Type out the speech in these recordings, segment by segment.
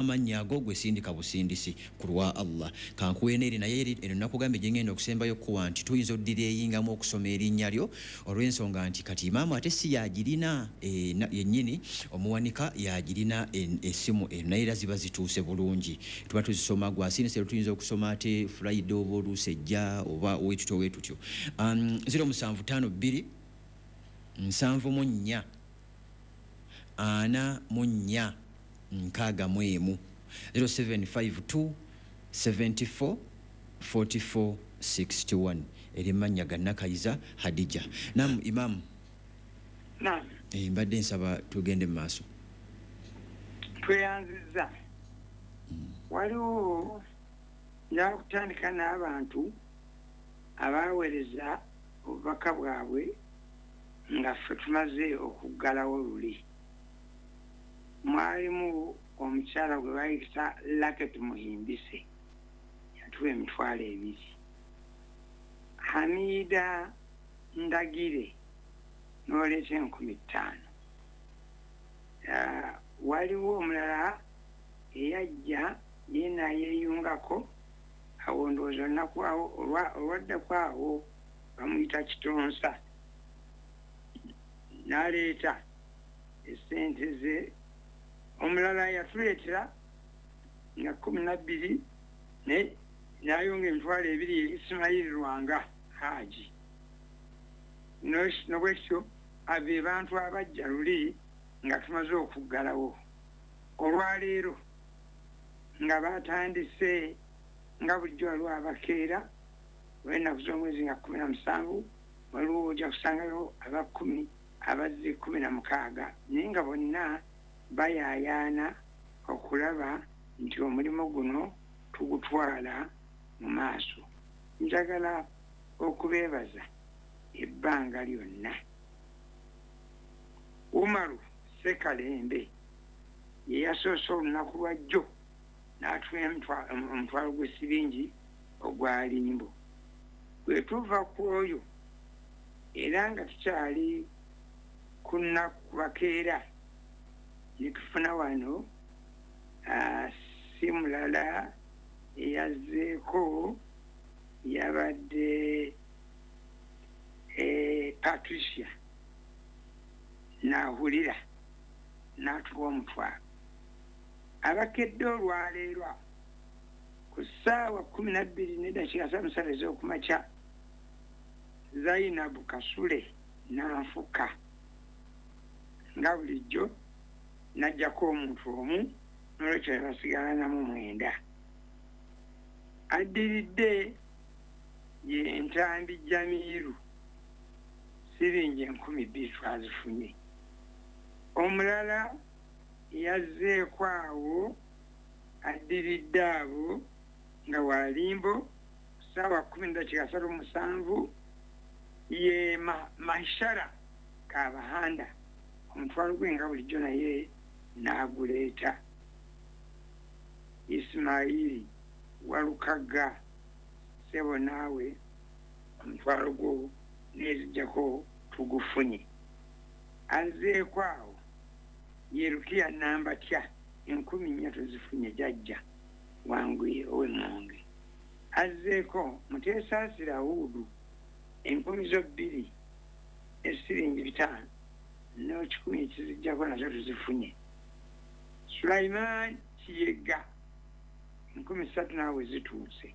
Amannya ago gwe sindika busindisi ku lwa Allah. Kankuwe n'eri naye eri eno nakugambye gye ngenda okusembayo okukuwa nti tuyinza odireeyingamu okusoma erinnya lyo olw'ensonga nti kati imaamu ate si y'agirina e, yennyini omuwanika y'agirina essimu eno naye era ziba zituuse bulungi tuba tuzisoma gwasindise ero tuyinza okusoma ate Friday oba oluusi ejja oba wetutyo wetutyo 0752 74 44 61 0752 74 44 61 eri mannya ga Nakayiza Hadija. Nam Imamu. Naam. Eh, mbadde nsaba tugende mu maaso. Tweyanzizza. Waliwo njagala kutandika n'abantu abaaweereza obubaka bwabwe nga ffe tumaze okuggalawo luli. Mwalimu omukyala gwe bayita Lucky Tumuhimbise yatuwa 20,000. Hamida Ndagire n'oleeta 5,000. Waliwo omulala eyajja ye n'ayeeyungako awo ndowooza olunaku awo olwaddako awo bamuyita Kitonsa n'aleeta essente ze. Omulala yatuleetera nga 12 naye n'ayonga 20,000 ye Ismail Lwanga Haji. Nobwekityo abo be bantu abajja luli nga tumaze okuggalawo. Olwaleero nga batandise nga bulijjo waliwo abakeera olw'ennaku z'omwezi nga 17 waliwo ojja kusangayo aba 10 abazze 16 naye nga bonna bayaayaana okulaba nti omulimu guno tugutwala mu maaso. Njagala okubeebaza ebbanga lyonna. Umaru Sekalembe ye yasoose olunaku lwa jjo n'atuwa omutwalo gw'essiringi ogwa limbo. Bwe tuva ku oyo era nga tukyali ku nnaku bakeera ne tufuna wano si mulala eyazzeeko yabadde Patricia Nahulira n'atuwa omutwalo. Abakedde olwaleero ku ssaawa 12:33 ez'okumakya Zainabu Kasule n'anfuka nga bulijjo n'aggyako omuntu omu n'olwekyo ne basigala namu 9. Addiridde ye Ntambi Jamiru siringi 2,000 twazifunye. Omulala yazzeeko awo addiridde abo nga walimbo ssaawa 10:37 ye Mahishara Kabahanda omutwalo gwe nga bulijjo naye n'aguleeta. Ismaili Walukaga ssebo naawe omutwalo gwo n'ezijjako tugufunye. Azzeeko awo ye Rukiya Nambatya 4,000 tuzifunye jajja wanguye ow'Emmonge. Azzeeko Muteesaasira Huudu 2,000 ne siringi 500 n'ekikumi ekizijjako nazo tuzifunye. Sulaiman Kiyega 3,000 naawe zituuse.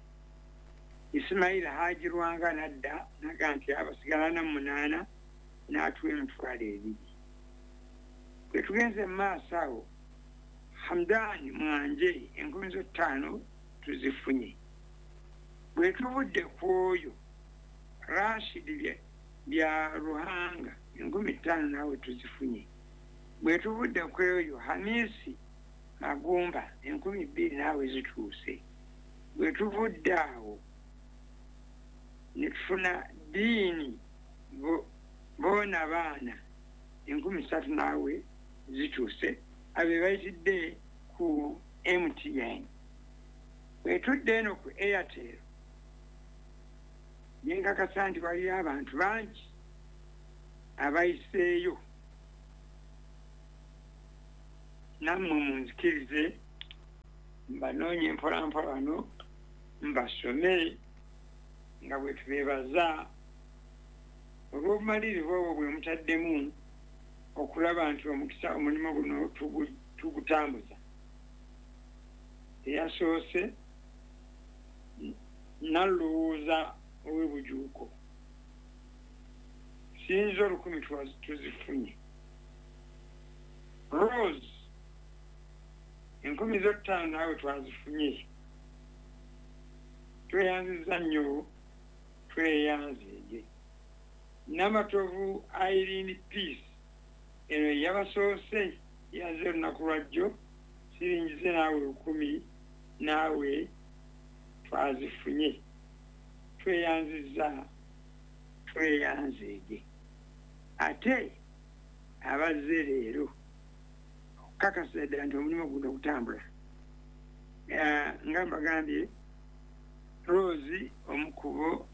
Ismail Haji Lwanga n'adda naga nti abasigala na 8 n'atuwa 20,000. Bwe tugenze mu maaso awo Hamdani Mwanje 5,000 tuzifunye. Bwe tuvudde ku oyo Rashid bya Ruhanga 5,000 naawe tuzifunye. Bwe tuvudde ku oyo Hamisi Magumba 2,000 naawe zituuse. Bwe tuvudde awo ne tufuna Diini boona baana 3,000 naawe zituuse abe bayitidde ku MTN. Bwe tudde eno ku Airtel nenkakasa nti waliyo abantu bangi abayiseeyo nammwe munzikirize. Mbanoonye mpolampola wano mbasome nga bwe tubeebaza olw'obumalirivu obwo bwe mutaddemu okulaba nti omukisa omulimu guno tugutambuza. Eyasoose nalowooza ow'ebujuuko sinza 1000 tuzifunye. Rose 5,000 naawe twazifunye. Tweyanziza nnyo, tweyanzeege. Namatovu Irene Peace eno yabasoose yaze olunaku lwajjo siringize naawe 1000 naawe twazifunye. Tweyanziza, tweyanzeege. Ate abazze leero okukakasa ddala nti omulimu guno gutambula, nga mbagambye Rose omukubo,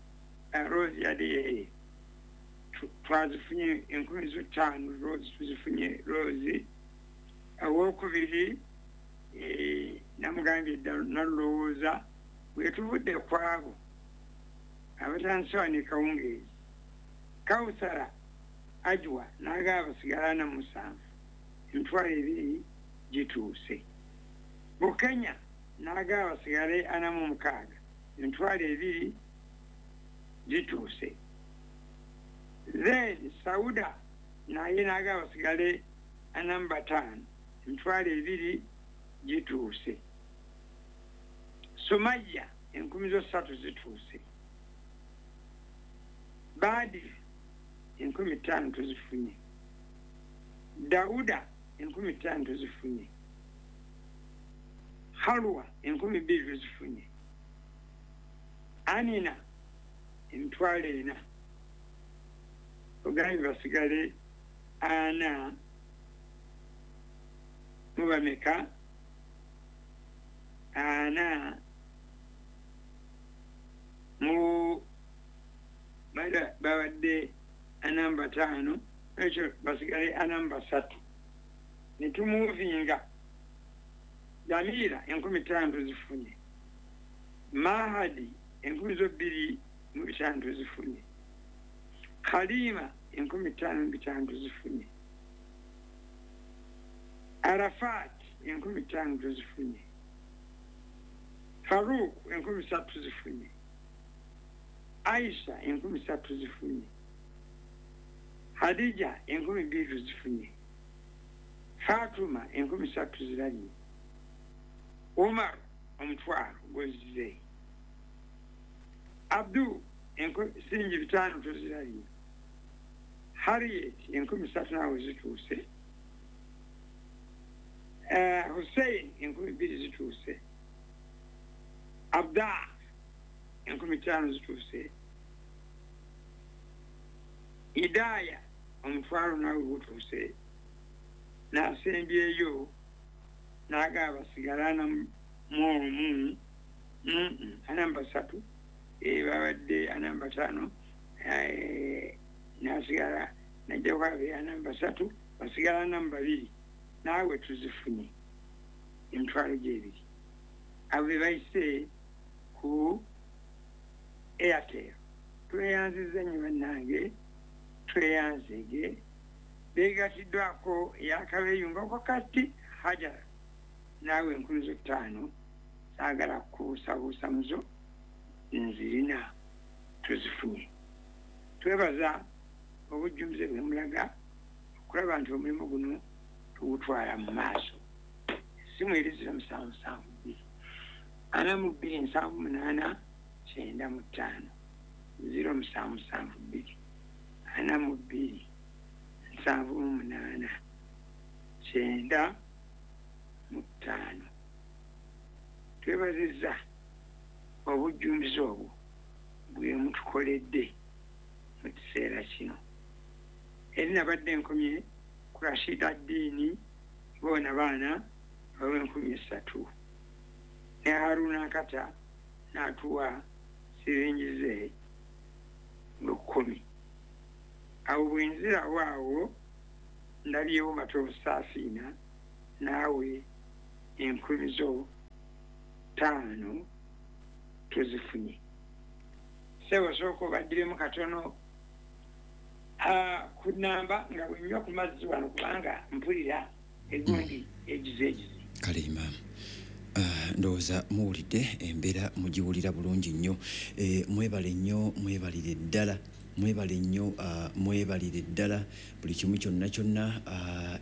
Rose yali twazifunye 5,000. Rose tuzifunye. Rose owokubiri namugambye ddala nalowooza bwe tuvudde ku abo abatandise wano e Kawungeezi. Kawusara Ajwa n'agaba basigala 47, 20,000 gituuse. Bukenya n'agaba basigale 46, 20,000 gituuse. Then Sauda naye n'agaba basigale 45, 20,000 gituuse. Sumaya 3,000 zituuse. Baadi 5,000 tuzifunye. Dauda 5,000 tuzifunye. Halwa 2,000 tuzifunye. Anina 4,000. Ogambye basigale 4 mubameka 4 mu babadde 45, ekyo basigale 43. Netumuvinga Jamila 5,000 tuzifunye. Mahadi 2,500 tuzifunye. Kalima 5,500 tuzifunye. Arafat 5,000 tuzifunye. Faruk 3,000 tuzifunye. Aisha 3,000 tuzifunye. Hadija 2,000 tuzifunye. Fatuma 3,000 tuziranye. Umar 1,000 gozze. Abdu 5,000 tuziranye. Harriet 3,000 nawe zituuse. Hussein 2,000 zituuse. Abda 5,000 zituuse. Idaya 1,000 nawe gutuuse. Nasembyeyo n'agaba basigala mu 43, babadde 45, nasigala najja kwabe 43, basigala 2 naawe tuzifunye 20,000. Abo be bayise ku Airtel. Tweyanziza nnyo bannange, tweyanzege. Beegatiddwako eyakabeeyungako kati Hajara naawe 5,000 saagala kubuusabuusa muzo nzirina tuzifunye. Twebaza obujjumbize bwe mulaga okulaba nti omulimu guno tugutwala mu maaso. Essimu eri 0772 42 78 95 0772 42 78 95. Twebazizza obujjumbize obwo bwe mutukoledde mu kiseera kino. Eri nabadde nkomye ku Rashida Ddiini boona baana bawe 3,000 ne Haruna Nkata n'atuwa siringi ze 1,000. Awo bwenzirawo awo ndabyewo Matovu Saafiina naawe 1,000 zo ttaano tuzifunye. Ssebo, sooka obaddiremu katono ku namba nga bwenywa ku mazzi wano, kubanga mpulira egundi egize egize. Kale imaamu, ndowooza muwulidde embeera, mugiwulira bulungi nnyo. Mwebale nnyo, mwebalire ddala, mwebale nnyo, mwebalire ddala buli kimu kyonna kyonna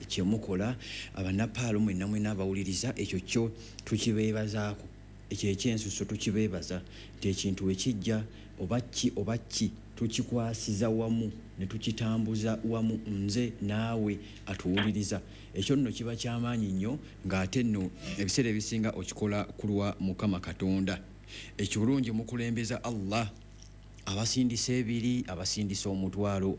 kyemukola. Abanapaalo mwenna mwenna abawuliriza, ekyo kyo tukibeebazaako, ekyo ekyensuso tukibeebaza nti ekintu wekijja oba ki oba ki, tukikwasiza wamu ne tukitambuza wamu, nze naawe atuwuliriza. Ekyo nno kiba kyamaanyi nnyo, ng'ate nno ebiseera ebisinga okikola ku lwa Mukama Katonda. Ekirungi mukulembeza Allah. Abasindisa ebiri, abasindisa omutwalo,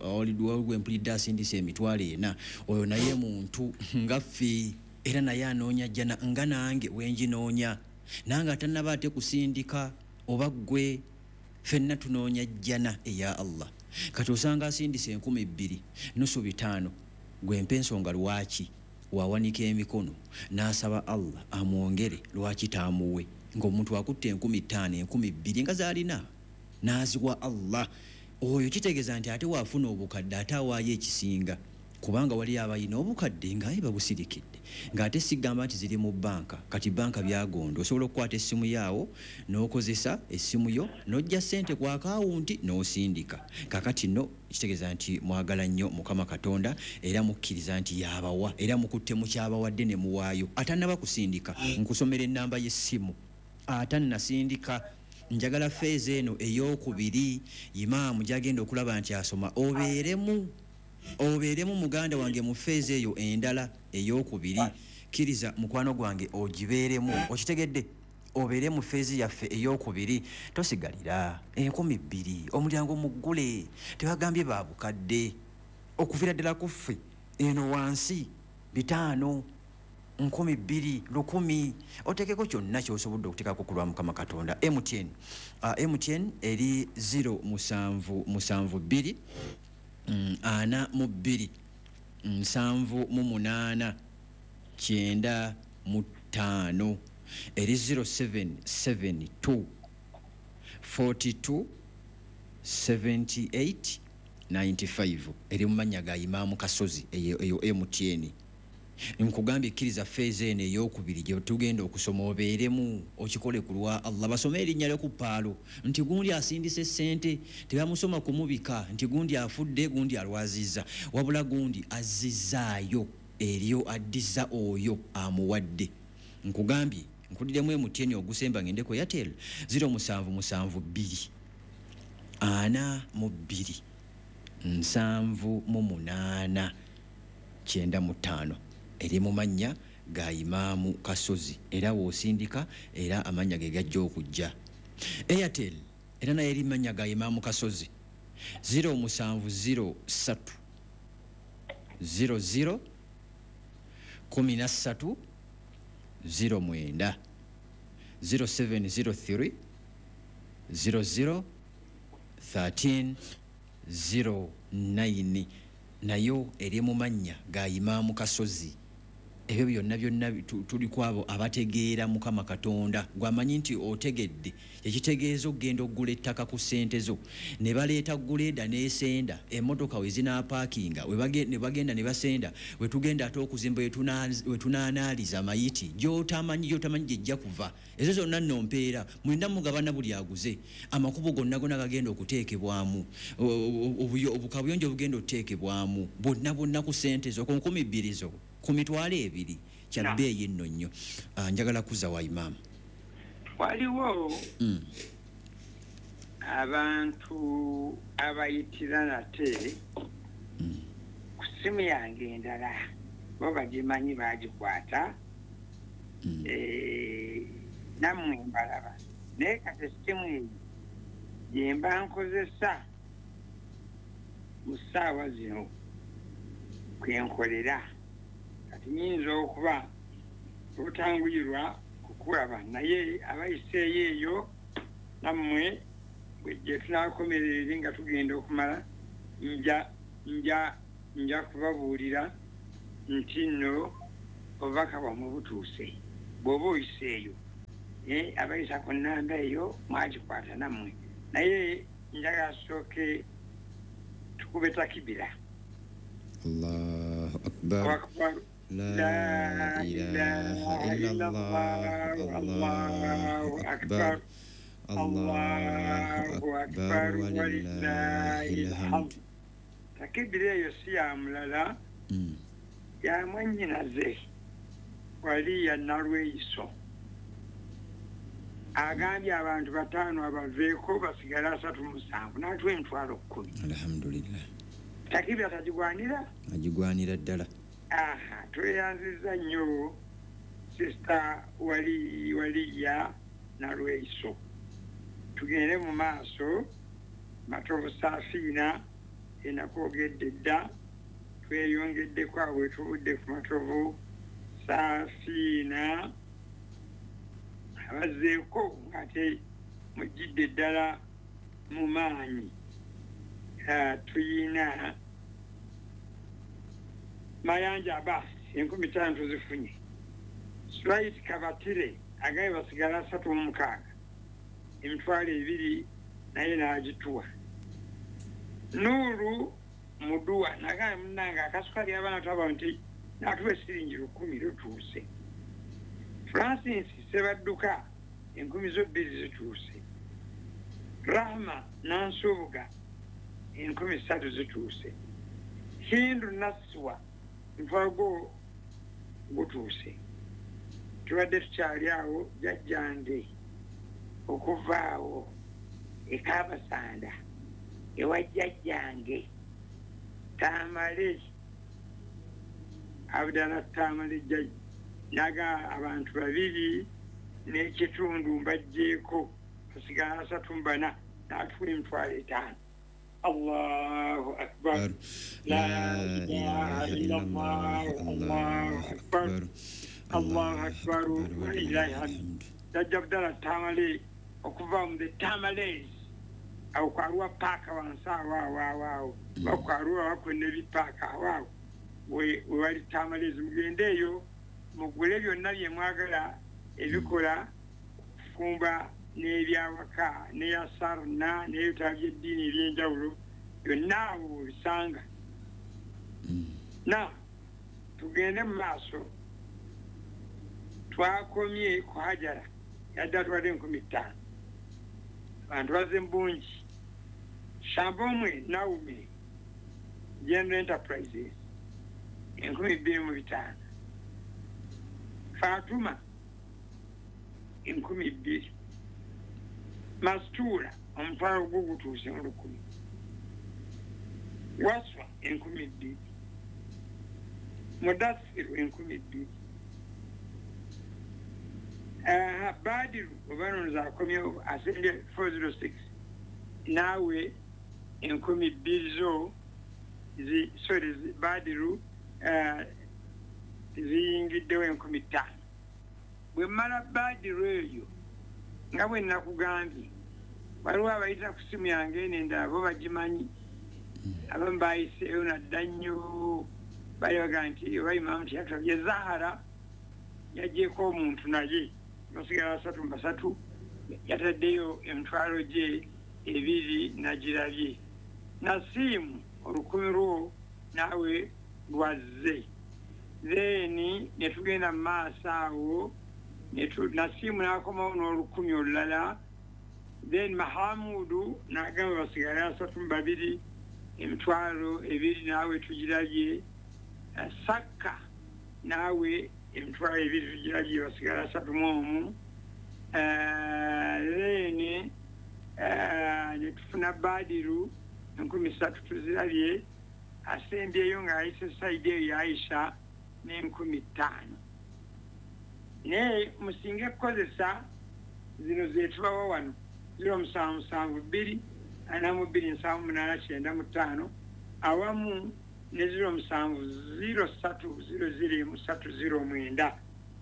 gwe mpulidde asindisa 400,000, oyo naye muntu nga ffe, era naye anoonya jjana nga nange wenginoonya. Nange atannaba ate kusindika oba ggwe, ffenna tunoonya jjana eya Allah. Kati osanga asindisa 2000, nusu bitaano, gwe mpa ensonga lwaki wawanika emikono n'asaba Allah amwongere, lwaki taamuwe, ng'omuntu akutte 5000, 2000 nga z'alina n'aziwa Allah. Oyo kitegeeza nti ate waafuna obukadde ate awaayo ekisinga, kubanga wali abalina obukadde ng'aye babusirikidde, ng'ate sigamba nti ziri mu banka. Kati banka byagonda, osobola okukwata essimu yaawo n'okozesa essimu yo n'ojja ssente ku akawunti n'osindika. Kakati nno kitegeeza nti mwagala nnyo Mukama Katonda, era mukkiriza nti yabawa, era mukutte mukyabawadde ne muwaayo. Atannaba kusindika, nkusomera ennamba y'essimu. Atannasindika, njagala feeza eno ey'okubiri imaamu gyagenda okulaba nti asoma, obeeremu, obeeremu muganda wange mu feeza eyo endala ey'okubiri. Kkiriza mukwano gwange ogibeeremu, okitegedde? Obeere mu feezi yaffe ey'okubiri, tosigalira 2000, omulyango muggule, tebagambye babukadde, okuviira ddala ku ffe eno wansi 500, 2000, 1000, oteekeko kyonna ky'osobodde okuteekako ku lwa Mukama Katonda. MTN, MTN eri 0772 42 78 95, eri 0772 42 78 95, eri mu mannya ga Imaamu Kasozi, eyo MTN. Nkugambye kkiriza feeza eno ey'okubiri gye tugenda okusoma obeeremu, okikole ku lwa Allah. Basome erinnya lyo ku paalo nti gundi asindise ssente, tebamusoma kumubika nti gundi afudde, gundi alwazizza, wabula gundi azzizaayo eryo addiza oyo amuwadde. Nkugambye nkuddiramu MTN ogusemba ngende ku Airtel, 0772 42 78 95, eri mu mannya ga Imaamu Kasozi, era w'osindika era amannya ge gajja okujja. Airtel era naye eri mannya ga Imaamu Kasozi, 0703 00 13 09, 0703 00 13 09, nayo eri mu mannya ga Imaamu Kasozi. Ebyo byonna byonna tuli ku abo abategeera Mukama Katonda. Gwamanyi nti otegedde ekitegeeza okugenda okugula ettaka ku ssente zo, ne baleeta guleeda n'esenda emmotoka we zinaapaakinga, ne bagenda ne basenda, we tugenda ate okuzimba, we tunaanaaliza amayiti, gy'otamanyi, gy'otamanyi gyejja kuva. Ezo zonna nno mpeera mwenna mugabana, buli aguze. Amakubo gonna gonna gagenda okuteekebwamu, obukabuyonjo obugenda okuteekebwamu, bwonna bwonna ku ssente zo, ku 2000 zo, ku 20,000, kya bbeeyi nno nnyo. Njagala kuzza wa imaamu. Waliwo abantu abayitira nate ku ssimu yange endala, bo bagimanyi, bagikwata, nammwe mbalaba, naye kati essimu eyo gye mba nkozesa mu ssaawa zino kwe nkolera, kati nyinza okuba obutanguyirwa kukulaba, naye abayiseeyo eyo nammwe gye tunaakomerera eri nga tugenda okumala, nja kubabuulira nti nno obubaka bwammwe butuuse. Bw'oba oyiseeyo Abayisa ku nnamba eyo mwagikwata nammwe, naye njagala tusooke tukube takibira. Allahu akbar. La ilaha illallah. Allahu akbar. Allahu akbar walillahil hamd. Takibira eyo si ya mulala, ya mwannyinaze wali ya Nalweyiso. Agambye abantu 5 abaveeko basigale 37 n'atuwa emitwalo 10. Alhamdulillah. Takibira tagigwanira? Agigwanira ddala. Aha, tweyanzizza nnyo sisita waliya Nalweyiso. Tugende mu maaso. Matovu Safiina enakwogedde dda, tweyongeddeko awo wetuvudde ku Matovu Safiina abazzeeko ng'ate mujjidde ddala mu maanyi. Tuyina Mayanja Abbas 5,000 tuzifunye. Swait Kabatire agambye basigala 36, 2,000 naye n'agituwa. Nuru Muduwa nagambye munnange akasukali abaana twaba nti n'atuwa esiringi 1,000 lutuuse. Francis Sebadduka 2,000 zituuse. Rahma Nansubuga 3,000 zituuse. Hindu Naswa mutwalo gutuuse. Tubadde tukyali awo jjajjange okuva awo e Kabasanda ewa jjajjange Tamale Abdala Tamale jjajja naga abantu 2 n'ekitundu mbaggyeko basigala 34 n'atuwa emitwalo 5. Allahu akbar. La ilaha illallah. Allahu akbar. Allahu akbar walillahi hamd. Jjajja Abdala Tamale okuva mu the Tamales awo kwaruwa paaka wansi awo awo awo bakwaruwa bakwena ebipaaka awo we wali Tamales. Mugende eyo mugule byonna bye mwagala ebikola kufumba n'ebyawaka n'eyasarna n'ebitabo by'eddiini ebyenjawulo byonna awo obisanga. Na tugende mu maaso. Twakomye ku Hajara yadde atwadde 5,000. Abantu bazze mu bungi. Shambomwe Naume General Enterprises 2,500. Fatuma 2,000. Mastura omutwalo gwo gutuuse mu 1,000. Waswa 2,000. Mudasiru 2,000. Badiru oba akomyewo asembye 406 naawe 2,000 zo sorry Badiru ziyingiddewo 5,000. Bwe mmala Badiru eyo nga bwe nakugambye waliwo abayita ku simu yange eno endala bo bagimanyi, abamu bayiseeyo nadda nnyo bali bagamba nti oba Imaamu teyatulabye. Zahara yaggyeko omuntu naye basigala 33, yataddeyo emitwalo gye 2 nagirabye. Nasiimu 1,000 lwo naawe lwazze. Then ne tugenda mu maaso awo Nasiimu n'akomawo n'1,000 olulala. Then Mahamudu n'agamba basigala 32, 2,000 naawe tugirabye. Sakka naawe 2,000 tugirabye basigala 31. Then ne tufuna Badiru 3,000 tuzirabye. Asembyeyo ng'ayise sayidi eyo Aisha n'5,000. Naye musinge kukozesa zino zetubawa wano 0772 42 78 95 awamu ne 0703 00 309.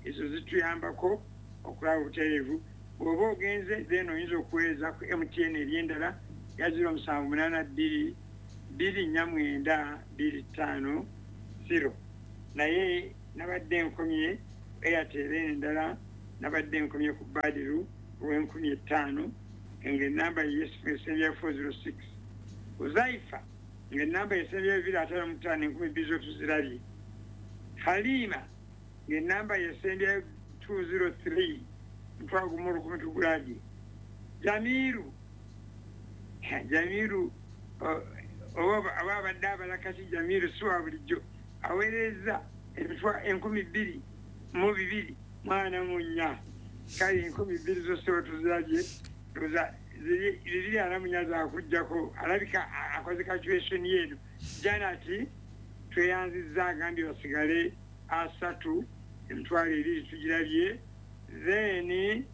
Ezo zituyambako okulaba obutereevu. Bw'oba ogenze then oyinza okuweereza ku MTN ery'endala ya 0782 249 250. Naye nabadde nkomye Airtel endala Nabadde nkomye ku Badiru ow'enkumi 5, ng'enamba yesembyayo 406. Uzaifa, ng'enamba yesembyayo 255, 2000 zo tuzirabye. Halima, ng'enamba yesembyayo 203, 10,000 tugulabye. Jamiru, Jamiru oba abadde abalakati. Jamiru si wa bulijjo, aweereza 22,244. Kale 2000 zose wetuzirabye, 244 zakugjako. Alabika akoze calculation yeeno. Janati tweyanzizza, agambye basigale 30, 20,000 tugirabye. Then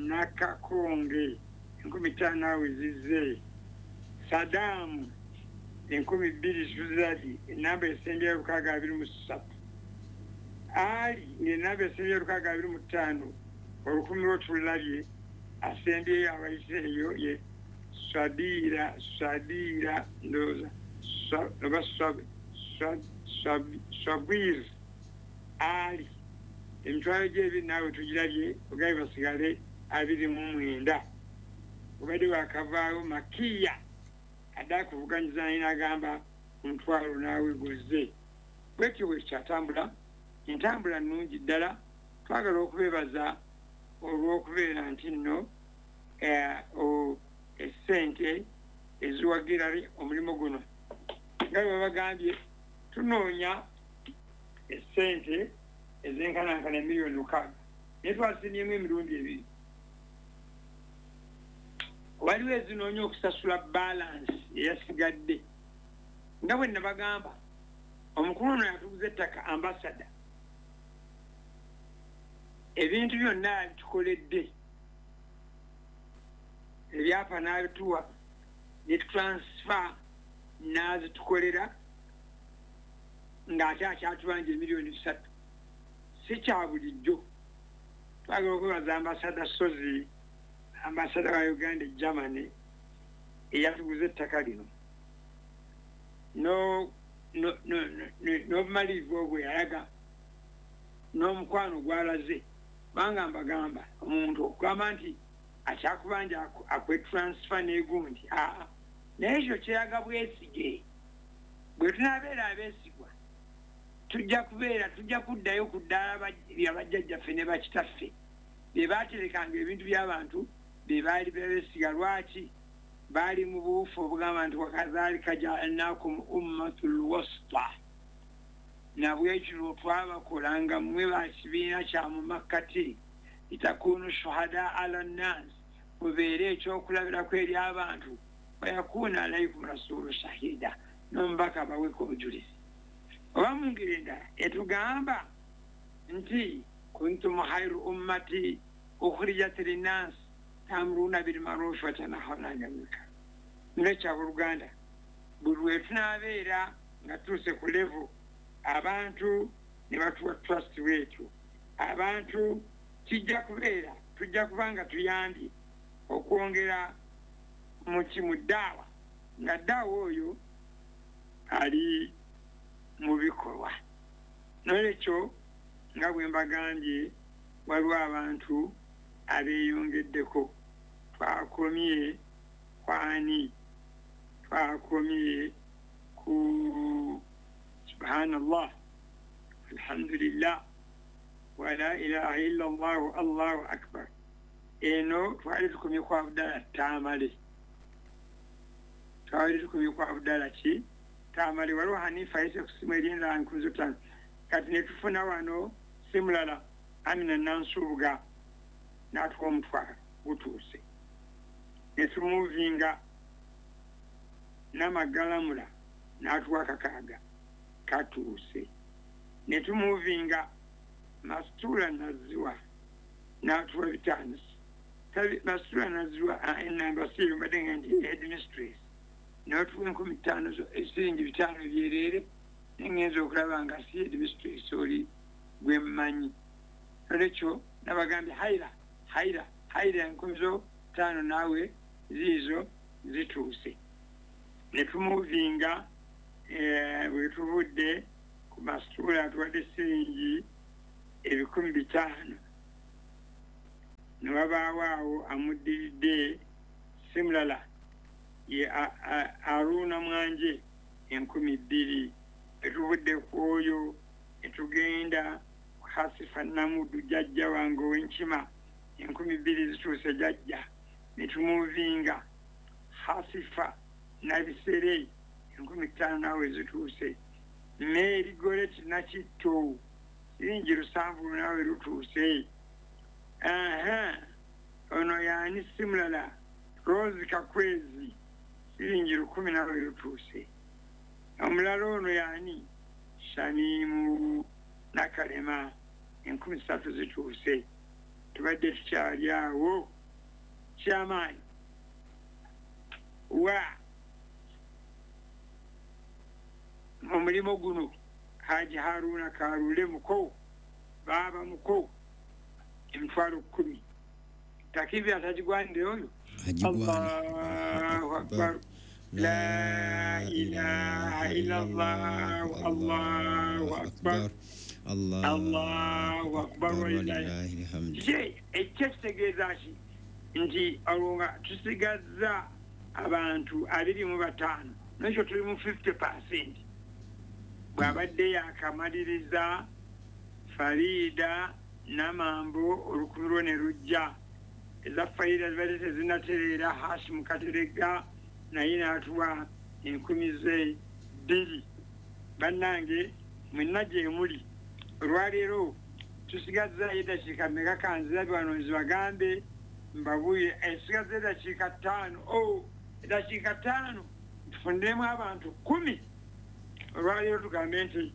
Nakakonge, 5,000 awe zizze. Sadamu, 2000 tuzirabye, enamba esembyayo 623. Ali, ng'enamba esembyayo 625, 1,000 lwo tulabye. Asembyeyo abayise eyo ye Sabira, Sabira ndowooza oba Sabwir Ali, 20,000 naawe tugirabye, ogabe basigale 29. Obadde wakavaawo Makiya adde akuvuganyiza naye n'agamba 10,000 naawe guzze. Bwetyo bwe kyatambula, entambula nnungi ddala. Twagala okubeebaza olw'okubeera nti nno essente eziwagira omulimu guno, nga bwe babagambye, tunoonya essente ezenkanankana 6 million, naye twasimyemu emirundi ebiri. Waliwo ezinoonya okusasula balance eyasigadde. Nga bwe nabagamba, omukulu ono yatuguza ettaka, ambasada, ebintu byonna bitukoledde, ebyapa n'abituwa ne transfer n'azitukolera, ng'ate akyatubanja 3 million. Si kya bulijjo. Twagala okwebaza Ambasada Sozi, ambasada wa Uganda e Germany, eyatuguza ettaka lino n'obumalirivu obwo yalaga n'omukwano gwalaze. Kubanga mbagamba, omuntu okugamba nti akyakubanja akwe transfer n'egundi, aa, naye ekyo kyeraga bwesige. Bwe tunaabeera abeesigwa, tujja kubeera, tujja kuddayo ku ddaala lya bajjajjaffe ne bakitaffe be baaterekanga ebintu by'abantu be baali beesiga. Lwaki baali mu buufu obugamba nti wakadhalika jaalnakum ummatul wasta, nabwekiro twabakolanga mmwe bakibiina kya mu makkati, litakunu shuhada ala nnas, mubeere ekyokulabirako eri abantu, wayakuuna alaikum rasulu shahida, n'omubaka baweko obujulizi. Oba mu ngeri endala etugamba nti kuntum khairu ummati ukhrijat linnas tamuruna bilmarufi watanahawna anil munkar. Nekyaboluganda, buli lwe tunaabeera nga tuuse ku level abantu ne batuwa trust bwetyo, abantu kijja kubeera, tujja kuba nga tuyambye okwongera muki mu ddaawa, nga ddaawa oyo ali mu bikolwa. Nolwekyo, nga bwe mbagambye, waliwo abantu abeeyongeddeko. Twakomye kwani? Twakomye ku subhanallah, alhamdulillah, wala ilaha illa Allahu, Allahu akbar. Eno twali tukomye ku Abdala Tamale, twali tukomye ku Abdala ki Tamale. Waliwo Hanifa ayise ku simu erinda 5,000. Kati netufuna wano si mulala, Amina Nansubuga n'atuwa 10,000, gutuuse. Netumuvinga Namagalamula n'atuwa 600, katuuse. Netumuvinga Masitula Naziwa n'atuwa 500. Masitula Naziwa, enamba siyo, mbadde nga nti headmistress, n'atuwa 5,000, esiringi 500 byereere. Nengenza okulaba nga si headmistress oli gwe mmanyi. Nolwekyo nabagambye haira, haira, haira, 5,000 naawe ziizo zituuse. Netumuvinga bwe tuvudde ku Masitula, atuwadde siringi 500,000. Ne wabaawo awo amuddiridde si mulala ye Aruna Mwanje 2000. Etuvudde ku oyo etugenda Hasifa Namudu jjajja wange ow'enkima 2000 zituuse jjajja. Ne tumuvinga Hasifa Nabisere 5000 naawe zituuse. Mary Goret Nakitto siringi 7 naawe lutuuse. Ono yaani si mulala Rose Kakwezi siringi 1000 naawe lutuuse. Omulala ono yaani Shamimu Nakalema 3000 zituuse. Tubadde tukyali awo kyamaanyi wa omulimu guno Haji Haruna Karule muko baaba muko 100,000. Takibi atagigwanire oyo. Allahu akbar, la ilaha illallah, Allahu akbar, Allahu akbar walillahi alhamd. Ekyo kitegeeza ki? Nti olwo nga tusigazza abantu 25, nekyo tuli mu 50%. Bw'abadde yakamaliriza Farida Namambo 1000 lwo ne lujja. Eza Farida zibadde tezinatereera. Hashim Kateregga naye n'atuwa 2000. Bannange mwenna gye muli olwaleero tusigazza eddakiika mmeka? Kanzirabe wano nzibagambe mbabuye esigaza eddakiika 5. Eddakiika 5 tufuniremu abantu 10. Olwaleero tugambe nti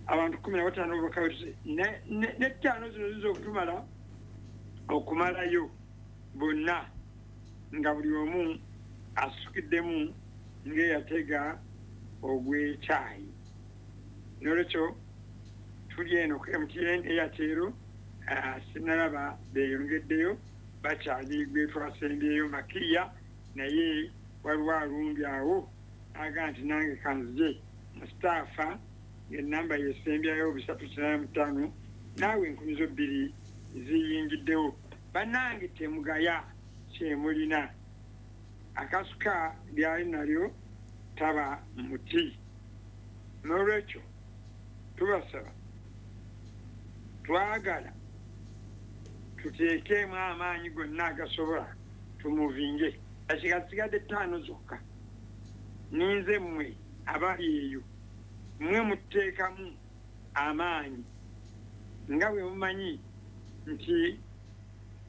abantu 15 bakawetuse ne 5 zino ziyinza okutumala okumalayo bonna nga buli omu asukiddemu ng'eyatega ogw'ekyayi. N'olwekyo tuli eno ku MTN Airtel, sinalaba beeyongeddeyo, bakyali gwe twasembyeyo Makiya, naye waliwo alumbye awo aga nti nange kanzije Mustafa ng'ennamba yesembyayo 385 naawe 2000 ziyingiddewo. Bannange temugaya kyemulina, akasuka lyali nalyo taba muti. N'olwekyo tubasaba, twagala tuteekemu amaanyi gonna agasobola tumuvinge. Dakiika zisigadde 5 zokka. Ninze mmwe abali eyo mmwe muteekamu amaanyi nga bwe mumanyi nti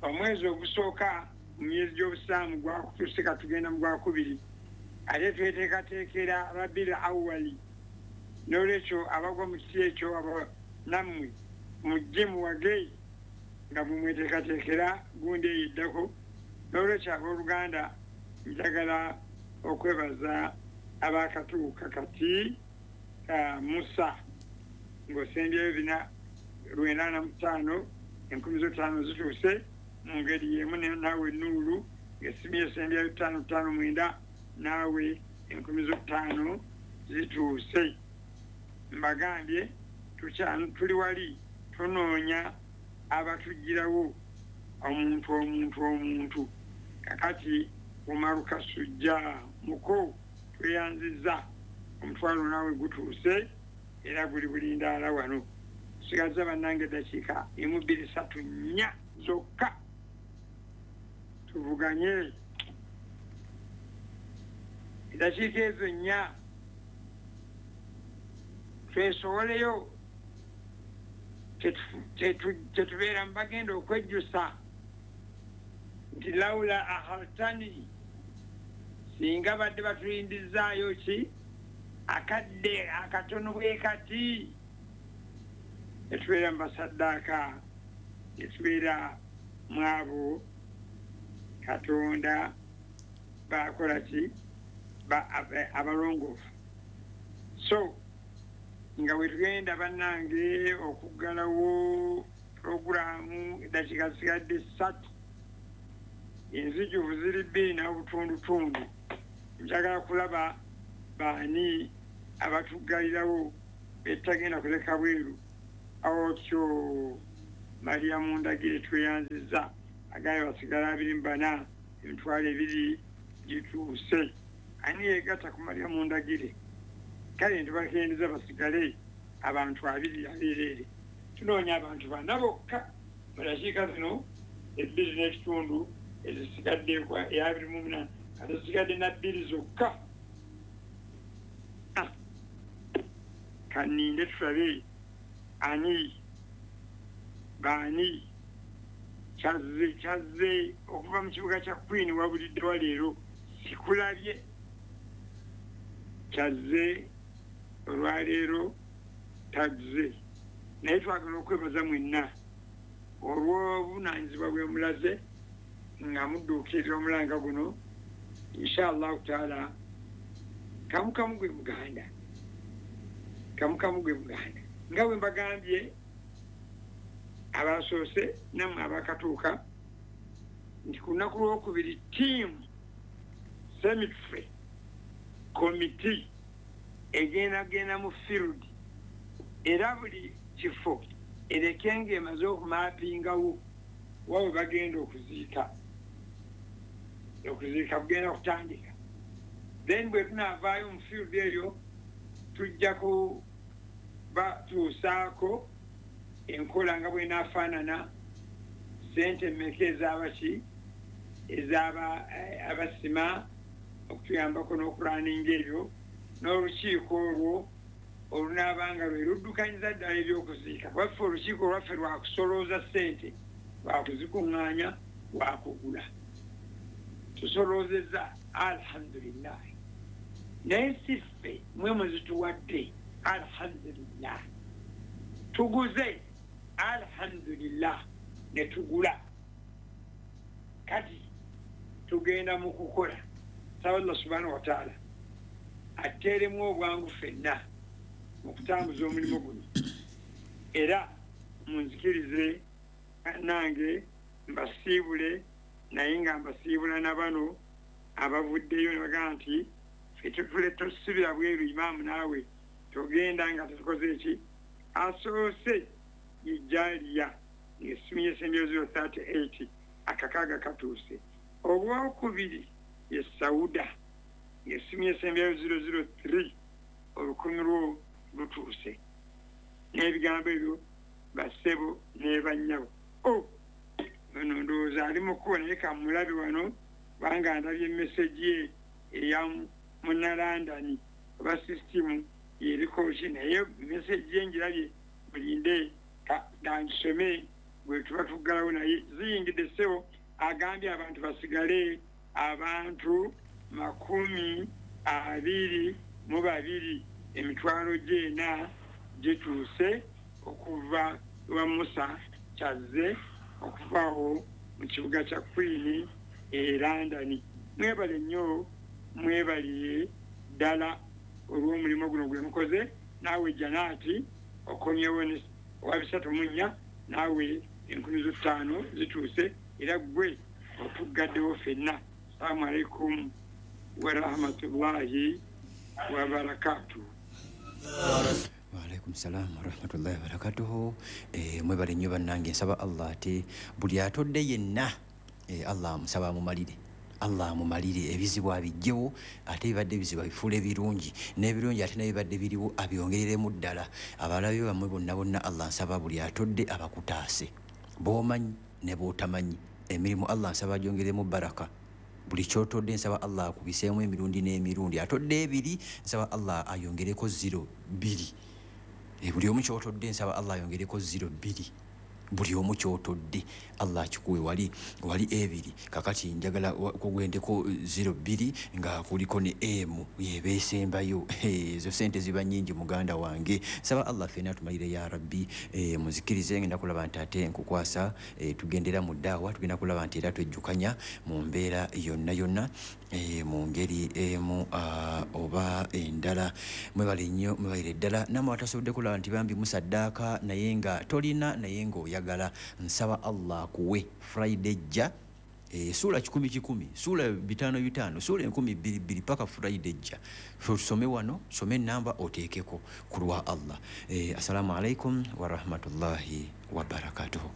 omwezi ogusooka mu myezi gy'obusiraamu gwakutuuse, tugenda mu gwakubiri, ate tweteekateekera Rabiul Awwali. N'olwekyo abagwa mu kiti ekyo nammwe mujje muwage nga mumweteekateekera gundi eyiddako. N'olwekyo abooluganda njagala okwebaza abakatuuka kati Musa ng'osembyeyo 495 5,000 zituuse. Mu ngeri y'emu naawe Nuulu ng'essimu esembyeyo 559 naawe 5,000 zituuse. Mbagambye tuli wali tunoonya abatugirawo omuntu omuntu omuntu. Kakati Umaru Kasujja muko tweyanzizza omutwalo naawe gutuuse era guli bulindaala wano. Sigaza bannange eddakiika 1 2 3 4 zokka tuvuganye. Eddakiika ezo 4 twesowoleyo, tetubeera mubagenda okwejjusa nti lawula ahaltani, singa badde batulindizaayo ki akadde akatono bwe kati, netubeera mu basaddaaka, netubeera mu abo Katonda bakola ki abalongoofu. So nga bwe tugenda bannange okuggalawo puroguraamu, eddakiika zisigadde 3, enzijuvu ziri 2 n'obutundutundu. Njagala kulaba baani abatuggalirawo betagenda kuleka bweru. Otyo Mariamu Ndagire tweyanziza, agaye basigala 24, 20,000 gituuse. Ani yegatta ku Mariamu Ndagire? Kale ntibakendeza basigale abantu 2 abeereere. Tunoonya abantu 4 bokka mu dakiika zino 2.5 ezisigadde eya 28, kati zisigadde na 2 zokka. Kaninde tulabe ani baani kyazze okuva mu kibuga kya Queen wabulidde wa leero sikulabye. Kyazze olwaleero tazze, naye twagala okwebaza mwenna olw'obuvunaanyizibwa bwe mulaze nga mudduukirira omulanga guno. Inshallah taala kamukamu gwe muganda, kamukamu gwe muganda. Nga bwe mbagambye abasoose nammwe abakatuuka nti ku lunaku lwokubiri ttiimu cemetery committee egenda mu field, era buli kifo ereke ng'emaze okumapingawo wa we bagenda okuziika. Okuziika kugenda kutandika, then bwe tunaavaayo mu field eyo tujja kubatuusaako enkola nga bw'enaafaanana, ssente mmeka ez'abaki ez'aba abasima okutuyambako n'okulaninga ebyo, n'olukiiko olwo olunaabanga lwe luddukanyiza ddala ebyokuziika. Waffe olukiiko lwaffe lwakusolooza ssente, lwakuzikuŋŋaanya, lwakugula. Tusoloozezza alhamdulillah, naye si ffe mwe muzituwadde alhamdulillah. Tuguze alhamdulillah ne tugula. Kati tugenda mu kukola. Saba Allah subhanahu wa ta'ala ateeremu obwangu ffenna mu kutambuza omulimu guno, era munzikirize nange mbasiibule, naye nga mbasiibula na bano abavuddeyo ne bagamba nti ffe tetule tosibira bweru imaamu naawe togenda nga tetukoze eki. Asoose ye Jalia ng'essimu y'essembyeyo 038 akakaaga katuuse. Owokubiri ye Sauda ng'essimu y'essembyeyo 003 olukumi lwo lutuuse. N'ebigambo ebyo bassebo ne bannyabo. Ono ndowooza ali mu kkubo, naye kamulabe wano kubanga ndabye meseji ye eya Munnalandani oba sisitimu yeriko ki, naye meseji ye ngirabye, mulinde kangisome bwe tuba tuggalawo. Naye ziyingidde ssebo, agambye abantu basigale abantu 22, 4,000 gituuse okuva wa Musa Kyazze okuvaawo mu kibuga kya Queen e London. Mwebale nnyo, mwebaliye ddala olw'omulimu guno gwe mukoze. Naawe Janaati okomyewo owa 34, naawe 5,000 zituuse, era ggwe otuggaddewo ffenna. Assalamu alaikum warahmatullahi wabarakatuh. Waalaikum salam warahmatullahi wabarakatuhu. Mwebale nnyo bannange, nsaba Allah ate buli atodde yenna Allah amusaba amumalire, Allah amumalire ebizibu abijjewo, ate ebibadde ebizibu abifuule birungi, n'ebirungi ate n'ebibadde biriwo abyongereremu ddala. Abalabe bammwe bonna bonna Allah nsaba buli atodde abakutaase, b'omanyi ne b'otamanyi. Emirimu Allah nsaba agyongeremu baraka. Buli ky'otodde nsaba Allah akubiseemu emirundi n'emirundi. Atodde 2 nsaba Allah ayongereko 02. Buli omu ky'otodde nsaba Allah ayongereko 02. Buli omu ky'otodde Allah akikuwe wali 2. Kakati njagala kugendeko 02 nga kuliko ne M yebeesembayo. Ezo sente ziba nnyingi muganda wange. Nsaba Allah ffenna atumalire ya Rabbi. Muzikirize ngenda kulaba nti ate nkukwasa, tugendera mu ddaawa, tugenda kulaba nti era twejjukanya mu mbeera yonna yonna, mu ngeri emu oba endala. Mwebale nnyo, mwebalire ddala. Nammwe abatasobodde kulaba nti bambi musaddaaka naye nga tolina, naye ng'oyagala, nsaba Allah akuwe Friday ejja Suula 100 100, suula 5 5, suula 2000 2 paka Friday ejja. Fe tusome wano, some enamba oteekeko ku lwa Allah. Assalamu alaikum warahmatullahi wabarakatuhu.